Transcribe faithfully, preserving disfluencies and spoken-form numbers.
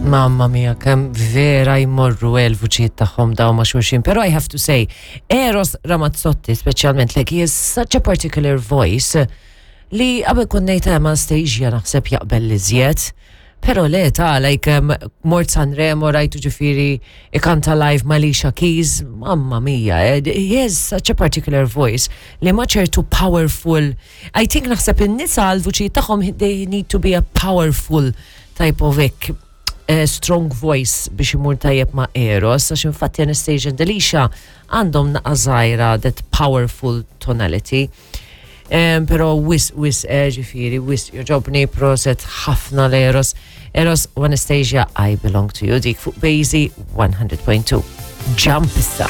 Mamma mia, kemm vera jmorru il-vuċijiet tagħhom daw ma' xulxin. Però I have to say, Eros Ramazzotti, speċjalment, like, he has such a particular voice li qabel kont ngħid ma' Anastasia naħseb jaqbel l-iżjed. Però le ta' like um, mort Sanremo rajtu ġifieri ikanta live ma' Alicia Keys, mamma mia, eh, he has such a particular voice li ma ċertu powerful. I think naħseb in-nisa l-vuċijiet tagħhom, they need to be a powerful type of ek, uh, strong voice biex imur tajjeb ma' Eros, għax infatti Anastasia and Alicia għandhom naqa żgħira that powerful tonality. Um, pero wisq, wisq, eh, ġifieri, wisq, jogħġobni, proset ħafna l-Eros. Eros u Anastasia, "I Belong to You", dik fuq Basie one hundred point two. Jump issa.